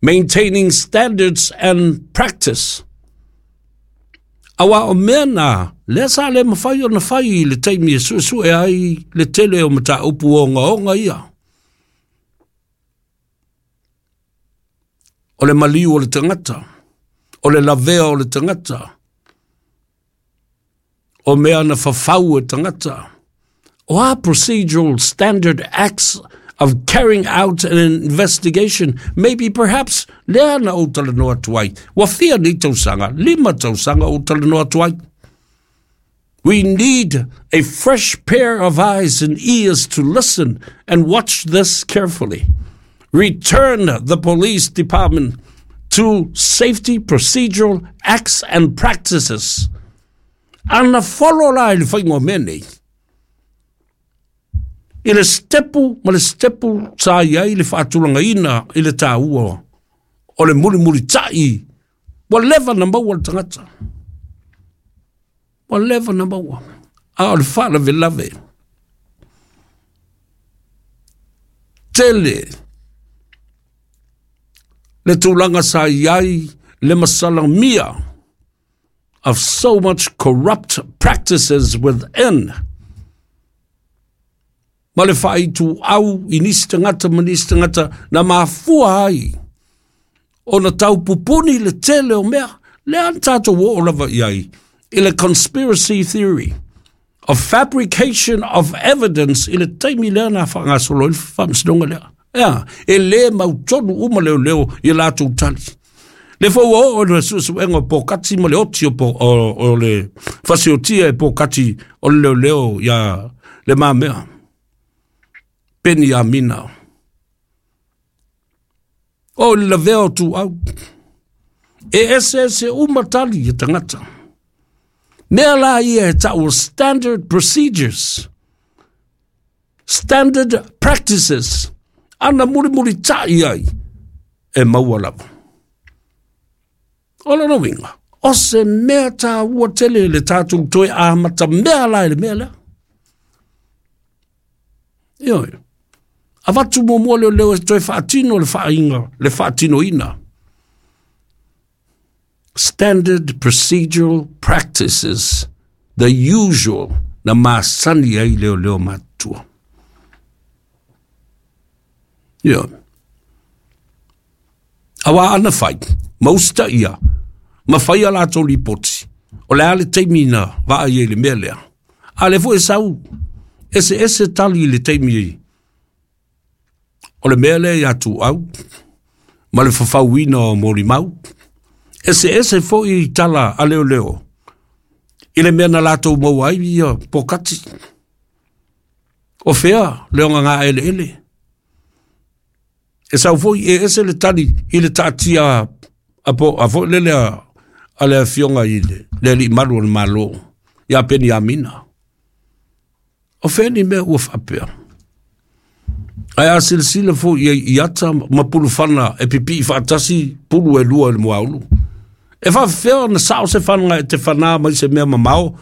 Maintaining standards and practice. Aua o mea na, lea sa le mafai ona fai i le taimi e suesue ai le tele o mataupu ogaoga ia. O le maliu o le tagata, o le lavea o le tagata, o mea na fafau e tagata. O a procedural standard acts of carrying out an investigation, maybe perhaps lea na ou talanoa atu ai. Ua fia nei tausaga, 5 tausaga ou talanoa atu ai. We need a fresh pair of eyes and ears to listen and watch this carefully. Return the police department to safety procedural acts and practices. Ana follow la i le whainga o mea nei. I le stepu ma le stepu sa i ai le faatulagaina i le tāua o le mulimulita'i ua leva na maua le tagata. Ua leva na maua. A o le faalavelave. Tele le tulaga sa i ai le masalamia of so much corrupt practices within. Ma le faaituau i nisi tagata ma nisi tagata na mafua ai ona taupupuni le tele o mea. Lea na tatou oo lava i ai i le conspiracy theory of fabrication of evidence i le taimi lea na faagasolo ai le faamasinoga lea. Ea, e lē mautonu uma leoleo i a latou tali. Le foi ua oo i le suesuega o Pokati ma le oti o, po, o, o le fasiotia e Pokati o le leoleo ia Le Mamea. Peni Amina. O le lavea o tuau. E ese ese uma tali e tagata. Mea la ia e tau standard procedures. Standard practices. Ana mulimulita'i ai e maua lava. O lona uiga, o se mea tāua tele le tātou toe amata mea la i le mea lea. Ioe. Avatu muamua leoleo e toe faatino le faaiga, le faatinoina. Standard procedural practices, the usual, na masani ai leoleo matutua. Ioe. Aua ana fai, ma usitaia, ma fai a latou lipoti, o le a le taimi na vaai ai i le mea lea. A lea foi e sau, eseese tali i le taimi o le mea lea ia Tuau ma le fafauina o molimau. Eseese foi tala a leoleo i le mea na latou maua ai ia Pokati. O fea le ogagaeleele? E sau foi e ese le tali i le taatia a, po, a foi lele a, a le afioga i le, le alii malu o le Malo, ia Peniamina. O fea ni mea ua faapea? Ae a silasila foi i ai i ata ma pulufana e pipii faatasi pulu e lua i le muaulu. E faafefea ona sao se fana e te fanā mai se mea mamao,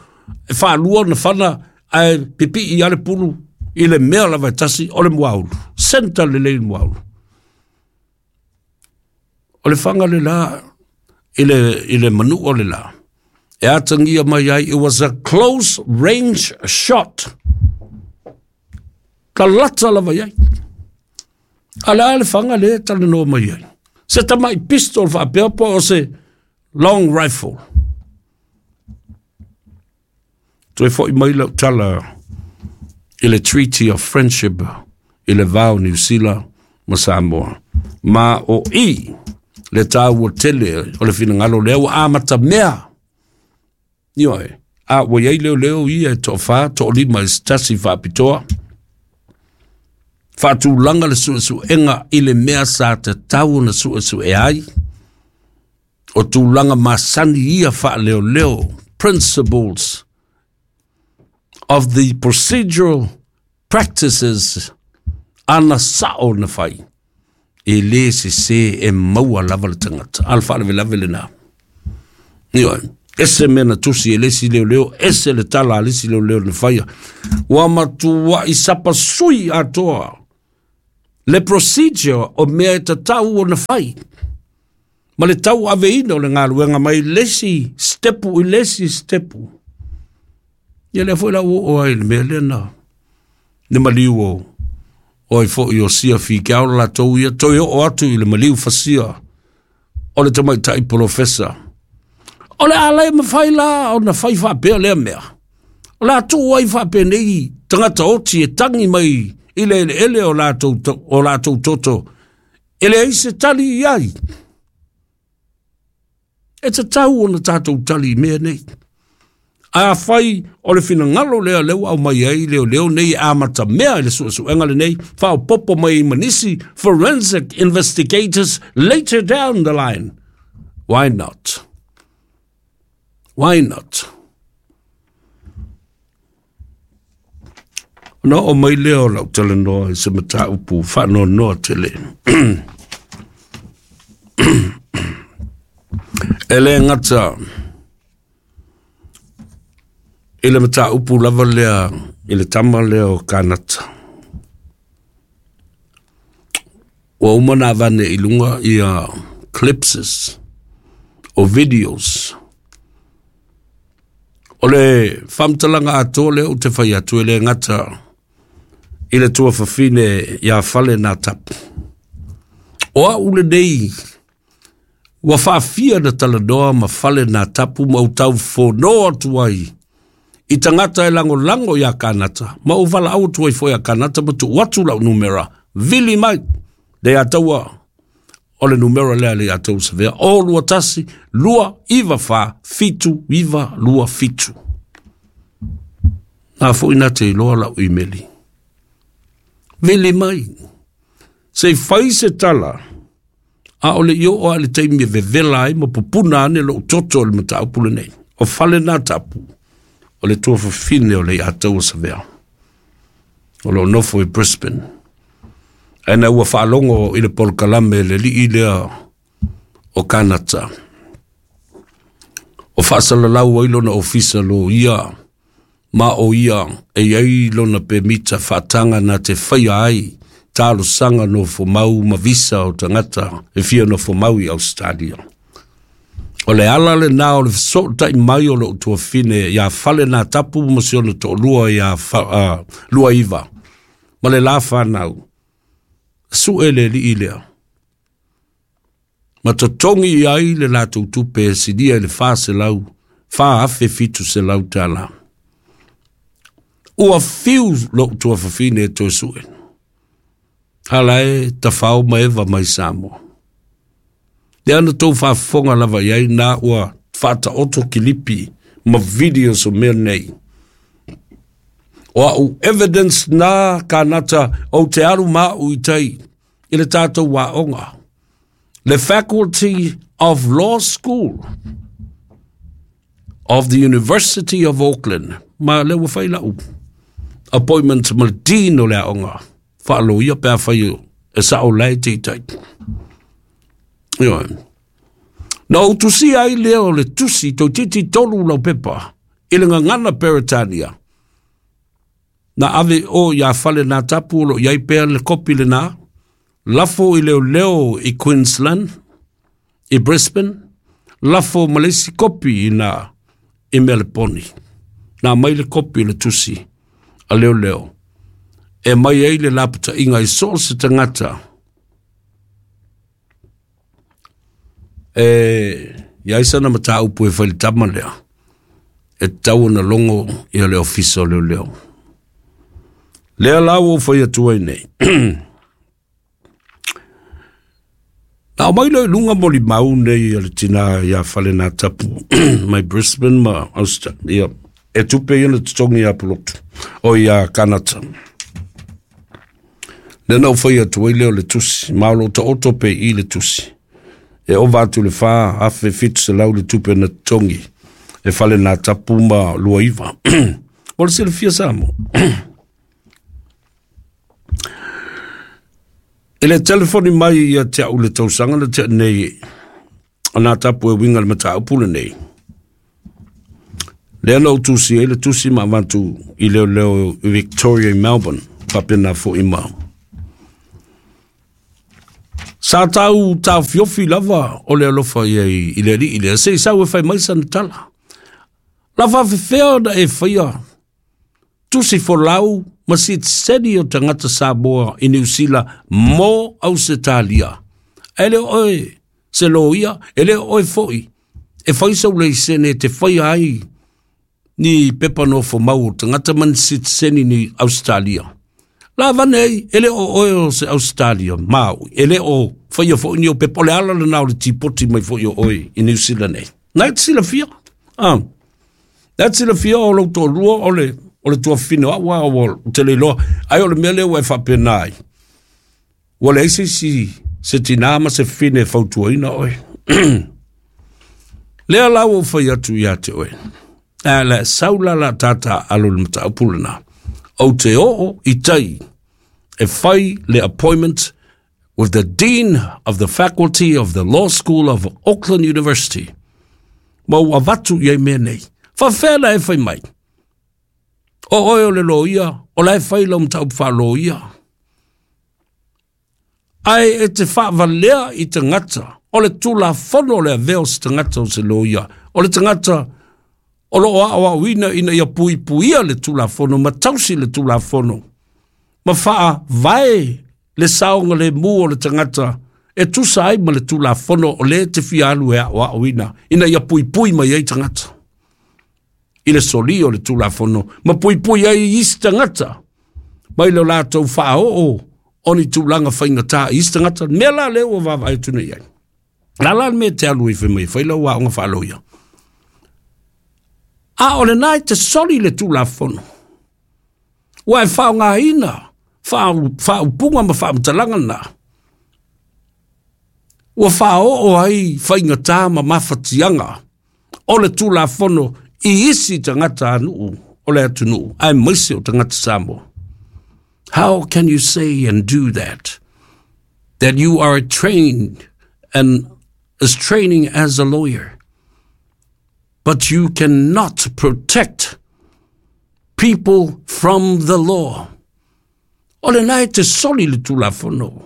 e faalua ona fana ae pipii a le pulu i le mea lava e tasi o le muaulu. Senta lelei le muaulu. O le fanga le la i le, i le manu o le la. E atagia mai ai, it was a close range shot. Ka lata lava i ai. A le a le fanga le talanoa mai ai. Se tamai pistol faapea po o se long rifle. Toe foi mai lau tala i le Treaty of Friendship i le va o Niu Sila ma Samoa. Ma o i le tāua tele o le finagalo lea ua amata mea. Ioe, a ua iai leoleo ia e toafā, toalima i se tasi faapitoa. Faatulaga le suesuega i le mea sa tatau ona suesue ai. O tulaga masani ia faaleoleo, principles of the procedural practices ana sao na fai. E lē sesē e maua lava le tagata. A o le faalavelave lenā. Ioe. Ese mea na tusi e le isi leoleo, ese le tala a le isi leoleo na faia. Ua matuai sapasui atoa le procedure o mea e tatau ona fai. Ma le tauaveina o le galuega mai le isi sitepu i le isi sitepu. Ia lea foi la ua oo ai i le mea lea na le maliu o o ai foi o Sia Fikeao latou ia toe oo atu i le maliu fasia o le tamaitai polofesa. O le a le mafai la ona fai faapea lea mea. O le a tuu ai faapenei tagata oti e tagi mai i le eleele o latou toto e leai se tali i ai. E tatau ona tatou tali i mea nei. A fai o le finagalo lea lea ua aumai ai leoleo nei e amatamea i le suesuega lenei, faaopoopo mai ma nisi forensic investigators later down the line. Why not? Why not? Ona oo mai lea o lau talanoa i se mataupu faanoanoa tele. E le gata i le mataupu lava lea i le tama lea o Kanata. Ua uma ona avane i luga ia clipses o videos. O le faamatalaga atoa lea ou te fai atu e le gata i le tuafafine ia Fale Natapu. O au lenei ua faafia na talanoa ma Fale Natapu ma ou taufono atu ai i tagata e lagolago ia Kanata, ma ou valaau atu ai foi ia Kanata ma tuu atu lau numera, vili mai, le ataua o le numera lea le ataua savea, o 21 2 9 4 7 9 2 7. Nā foi nā te iloa lau imeli. Vili mai, se i fai se tala, a o le i oo a le taimi e vevela ai ma pupuna ane lou toto o le mataupu lenei. O Fale Natapu, o le tuafafine o le Iataua Savea, o lo o nofo i Brisbane. Ae na ua faalogo i le polokalame le alii lea o Kanata, o faasalalau ai lona ofisa loia, ma o ia e i ai lona pemita faataga na te faia ai talosaga nofomau ma visa o tagata e fia nofomau i Australia. O le ala lena o le fesootai mai o lou tuafine ia Fale Natapu ma si ona toalua ia Luaiva ma le la fanau, sue le alii lea. Ma totogi i ai le latou tupe e silia i le 400, 4,700 tala. Ua fiu lou tuafafine e toe sue. Ala e tafao ma eva mai Samoa. Lea na tou faafofoga lava i ai na ua faataoto kilipi ma videos o mea nei. O au evidence na Kanata ou te alu ma au i tai i le tatou aoga. Le Faculty of Law School of the University of Auckland. Ma le ua fai lau appointment ma le dean o le aoga. Faaloia pe a fai e sao lae te i tai. Ioe. Na ou tusia ai lea o le tusi toeitiiti 3 lau pepa i le gagana Peretania. Na ave o ia Fale Natapu o lo o i ai pea le kopi lena, lafo i leoleo i Queensland, i Brisbane, lafo ma le isi kopi i na i Meleponi. Na mai le kopi o le tusi a leoleo e mai ai le lapataiga i so o se tagata e i ai sana mataupu e fai i le tama lea, e tatau ona logo ia le ofisa o leoleo. Lea la ua ou fai atu ai nei. Na aumai lea i luga molimau nei a le tinā ia Fale Natapu mai Brisbane ma Australia, e tupe ia na totogi ia Pulotu, o ia Kanata. Lea na ou fai atu ai lea o le tusi, ma o lo o taoto pe i le tusi. E ova atu le 4,700 le tupe na totogi e Fale Natapu ma Luaiva. O le silafia Samoa. I le telefoni mai ia te au le tausaga na tea nei a Natapu e uiga i le mataupu lenei. Lea na ou tusi ai le tusi ma avatu i leoleo i Victoria i Melbourne, faapena foi ma. Sa tau taofiofi lava o le alofa i i le alii lea, se i sau e fai mai sana tala. La faafefea ona e faia tusi folau ma sitiseni o tagata Samoa i Niu Sila mo Ausetalia. Ae le o oe se loia, e le o oe foi e fai sau leisene e te faia ai ni pepa nofomau o tagata ma ni sitiseni ni Ausetalia. La avane ai, e le o oe o se Ausetalia Maui, e le o faia foi ni o pepa, o le ala lena o le tipoti mai foi o oe i Niu Sila nei. Na e te silafia, ah. Na e te silafia o lou toalua o le, o le tuafafine o au a ua te le iloa, ai o le mea lea ua e faapena ai. Ua leai se isi se tinā ma se fafine e fautuaina oe. Lea la ua ou fai atu ia te oe. A le sau la la tata alo i le mataupu lena. Ou te oo i tai e fai le appointment with the Dean of the Faculty of the Law School of Auckland University. Ma ua avatu i ai mea nei. Faafefea la e fai mai? O oe o le loia, o la e fai lau mataupu faaloia. Ae e te faavalea i tagata, o le tulafono o le avea o se tagata o se loia, o le tagata o lo o aoaoina ina ia puipuia le tulafono ma tausi le tulafono, ma faavae le saogalemu o le tagata e tusa ai ma le tulafono o lea e te fia alu e aoaoina ina ia puipui mai ai tagata i le solia o le tulafono ma puipui ai isi tagata mai lo latou faaoo o ni tulaga faigata i isi tagata. Mea la lea ua vaavaai atu nei ai. La la le mea e te alu ai fai mai e fai lau aoga faaloia. A o lena e te soli le tulafono. Ua e faaaogaina faaupuga ma faamatalaga na. Ua faaoo ai faigata ma mafatiaga o le tulafono i isi tagata nuu o le atunuu, aemaise o tagata Samoa. How can you say and do that? That you are trained and is training as a lawyer, but you cannot protect people from the law. O lena e te soli le tulafono.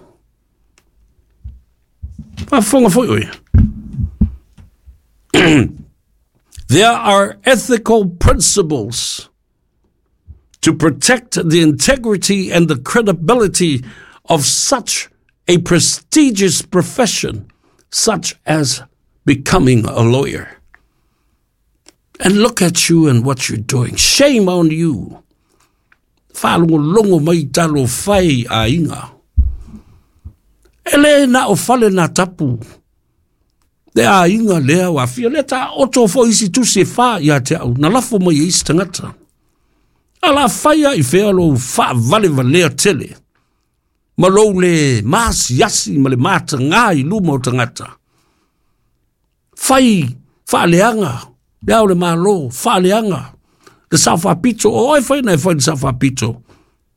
Faafofoga foi oe. There are ethical principles to protect the integrity and the credibility of such a prestigious profession, such as becoming a lawyer. And look at you and what you're doing. Shame on you. Faalogologo mai talofa e aiga. E le na o fale na tapu. Le aiga lea ua aafia lea taoto foi isi tusi e fa ia te au na lafo mai e isi tagata. A la faia i fea lou faavalevalea tele ma lou le maasiasi ma le matagā i luma o tagata. Fai faaleaga le Ao o le Malo, faaleaga le Sao Faapito, o oe fai na e fai le Sao Faapito,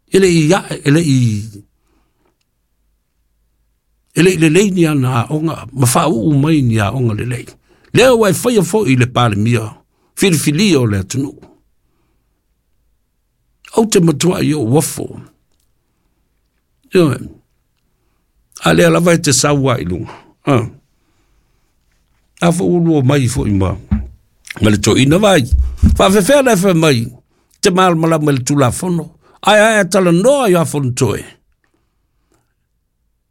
e le i ae, e le i e le i lelei ni ana aoga ma faauu mai ni aoga lelei. Lea ua e faia foi i le Palemia filifilia o le atunuu. Ou te matuai ou uafo. Ioe. A lea lava e te sau ai i luga. Ah. A fo ulu o mai foi ma ma le toeaina vai. Faafefea la e fai mai te malamalama i le Tulafono. Ae ae a talanoa ia Fonotoe.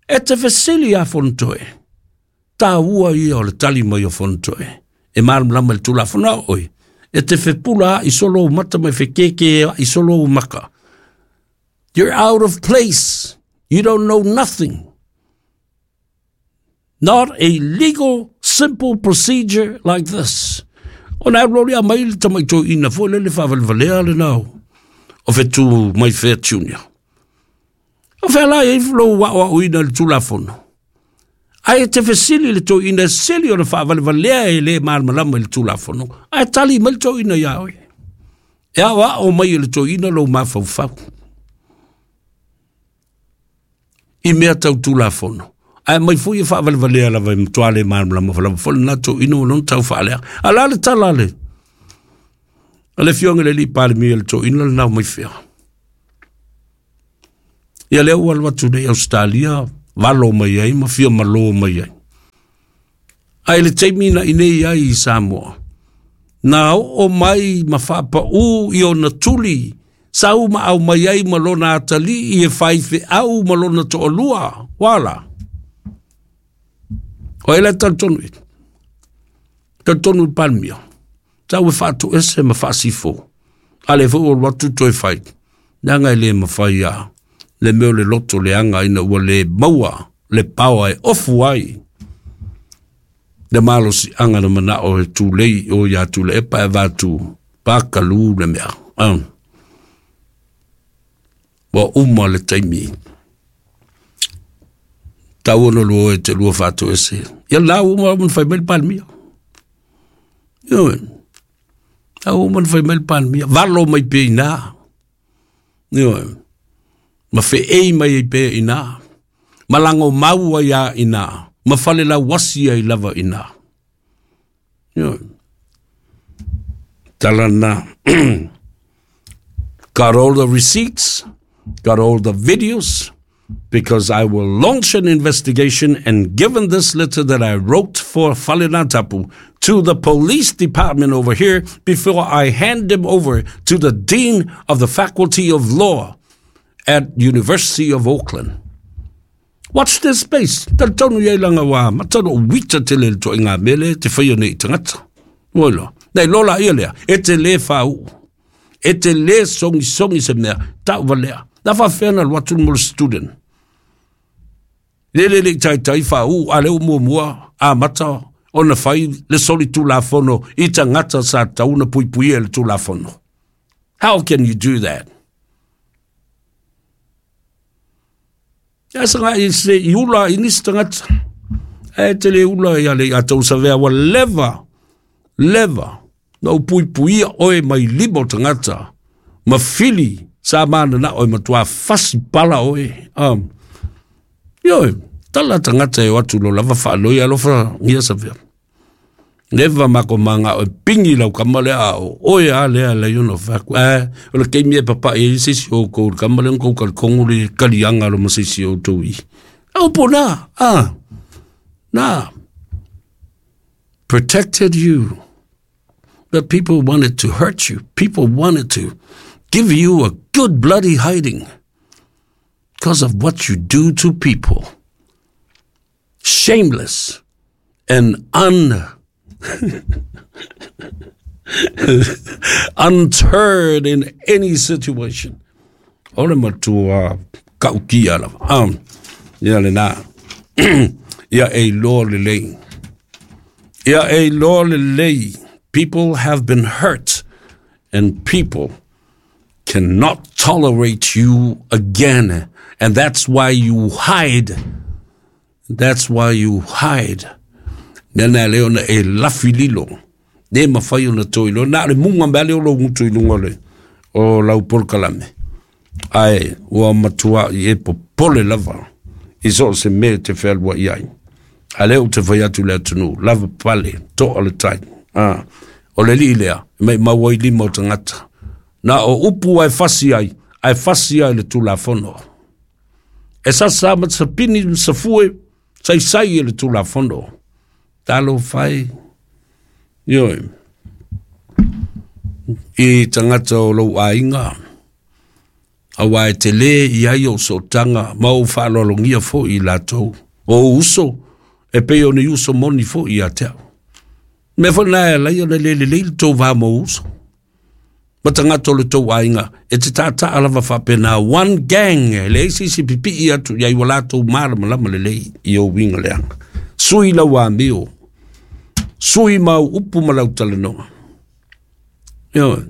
E te fesili ia Fonotoe. Taua ia o le tali mai o Fonotoe. E malamalama i le Tulafono a oe. E te fepula i solo ou mata ma e fekeke i solo ou maka. You're out of place. You don't know nothing. Not a legal simple procedure like this. Ona alu alu mai le tamai toeaina foi lele faavalevalea lena o o Fetu mai Fair Junior. O fea la e ai lou aoaoina i le Tulafono? Ae e te fesili i le toeaina e sili ona faavalevalea e le malamalama i le Tulafono, ae tali mai le toeaina ia oe. E aoao mai e le toeaina lou mafaufau i mea tau Tulafono. Ae aumai foi e faavalevalea lava e matua le malamalama lava foi lena toeaina ua lona tau faaleaga. A o le a le tala a le a le Afioga i le Alii Palemia i le toeaina lena o Maifea? Ia lea ua alu atu nei i Ausetalia valo mai ai ma fia malo mai ai. Ae le taimi na inei ai i Samoa, na oo mai ma faapaū i ona tuli, sau ma aumai ai ma lona atalii e faifeau ma lona toalua, wala. O ai la e talitonu i ai? Talitonu i le Palemia, sau e faatoese ma faasifo, a lea foi ua alu atu toe fai, leaga e le mafai lava le mea o le loto leaga ina ua le maua le paoa e ofu ai le malosiaga na manao e tulei o ia Tuilaepa e avatu pakalu le mea. Ua uma le taimi. Tau ona lua e te lua faatoese. Ia la ua uma ona fai mai le Palemia. Ioe. La ua uma ona fai mai le Palemia. Valo mai pea i ina. Ioe. Ma feei mai ai pea i ina. Ma lagomau ai lava i ina. Ma falelauasi ai lava i ina. Ioe. Tala na. Got all the receipts, got all the videos, because I will launch an investigation and given this letter that I wrote for Falelautapu to the police department over here before I hand them over to the Dean of the Faculty of Law at University of Auckland. Watch this space. Talitonu i ai langa wā, matano o wita te le to i ngā mele te whaia nei i tangata. Oi loa. Nei lola ia lea, e te le whau. E te le songisongi se mea, tau valea. Na whawhea na alu atu mo le student. Le le le taitai whau, a leo mua mua, a mata, ona whai le soli tulafono i tangata sa tauna pui pui e le tulafono. How can you do that? Ia sanga i se i ula i nisi tagata. E te le ula ia le ia tau savea ua leva, leva, na u puipuia oe mai lima o tagata, ma fili sa mana na oe matua fasi pala oe. Ioe, tala tagata e o atu lo lava whaaloi alofa ngia savea. Leva mako manga o pingi lau kama lea a o oe a lea le yono whaku. O le keimi e papa e isi si o kou le kama lea kou kali kongo le kali anga lo masisi o tau i. Au po nā, nā. Protected you. But people wanted to hurt you. People wanted to give you a good bloody hiding because of what you do to people. Shameless and unterred in any situation. O le matua kaukia lava. Ia le nā. Ia e iloa lelei. Ia e iloa lelei. People have been hurt and people cannot tolerate you again. And that's why you hide. That's why you hide. Nena leo na e lafi lilo. Ne mawhai o na toi lo. Nā le munga mea leo lo ngutu i lunga le o lau polokalame. Ai, ua matua i e popole lava. I so se mea te whenua i ai. A leo te whai atu le atunu. Lava pale, toa le tai. O le li lea, mai maua i lima o tangata. Na o upu ai fasi ai, ai fasi ai le tulafono. E sasa ma sapini ma safue, sai sai e le tulafono. Talo whai, ioe, i tangata o lou aiga, aua e te lē i ai o sootaga ma ou faaaloalogia foʻi i latou o ou uso e pei ona i uso moni foʻi ia te au. Mea foi lena e alai ona le lelei le tou va ma ou uso ma tagata o le tou aiga e te taataa lava faapena one gang e leai se isi e pipii atu i ai ua latou malamalama lelei i ou uiga leaga. Sui lau amio, sui ma au upu ma lau talanoa. Ioe,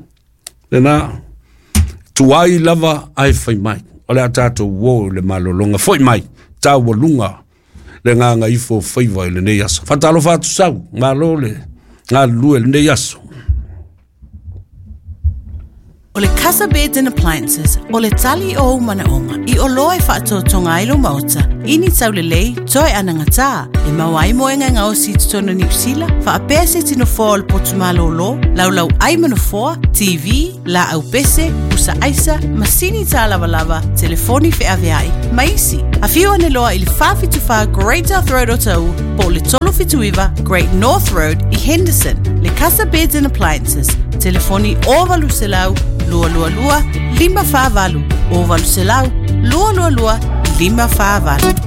lena, tuai lava ae fai mai. O le a tatou uō i le malologa. Foi mai, taualuga le gagaifo o faiva i lenei aso. Faatalofa atu sau, malo le galulue i lenei aso. O le Casa Beds and Appliances, o le tali o ou manaoga i oloa e faatotoga ai lou maota, i ni taulelei, toe anagatā, e maua ai moega e gaosi i totonu o Niu Sila, faapea se isi nofoa o le potu malōlō, laulau ai ma nofoa, TV, laau pese, pusa aisa, masini tālavalava, telefoni feaveai, ma isi. Afio ane loa i le 474 Great South Road o Taʻu, po o le 379 Great North Road i Henderson. Le Casa Beds and Appliances, telefoni 0800 222 548, 0800 222 548.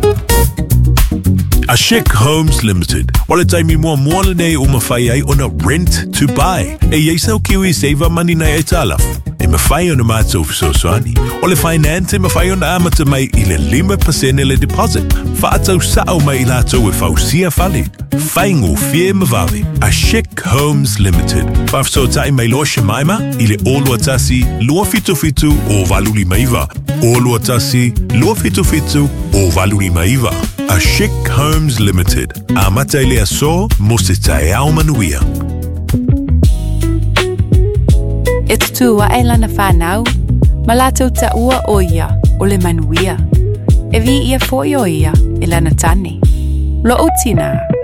Ashik Homes Limited. O le taimi muamua lenei ua mafai ai ona rent to buy. E i ai sau Kiwi Saver Money nai aitalafu. E mafai ona mātou fesoasoani. O le finance e mafai ona amata mai i le 5% le deposit. Faatau sao mai i latou e fausia fale. Faigofie ma vave. Ashik Homes Limited. Faafesootai mai loa Shemaima i le 021 277 0859. 021 277 0859. Ashik Homes Limited. Amata i le aso mo se taeao manuia. E tutū aʻe lana whānau, ma lātou taʻua ʻo ia o le manuia. E viia foi ʻo ia e lana tane. Loʻu tinā.